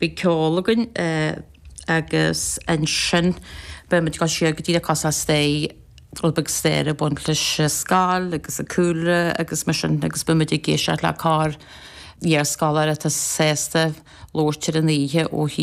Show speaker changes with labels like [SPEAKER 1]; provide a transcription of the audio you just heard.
[SPEAKER 1] Beidh ceol againn agus ansin beidh muid ag dul siar go díreach cos ar strae, rud beag staire ag baint leis an scoil agus an cúlra agus mar sin agus beidh muid ag éisteacht le cór iarscoláire atá sásta labhairt ar an oíche ó thaobh.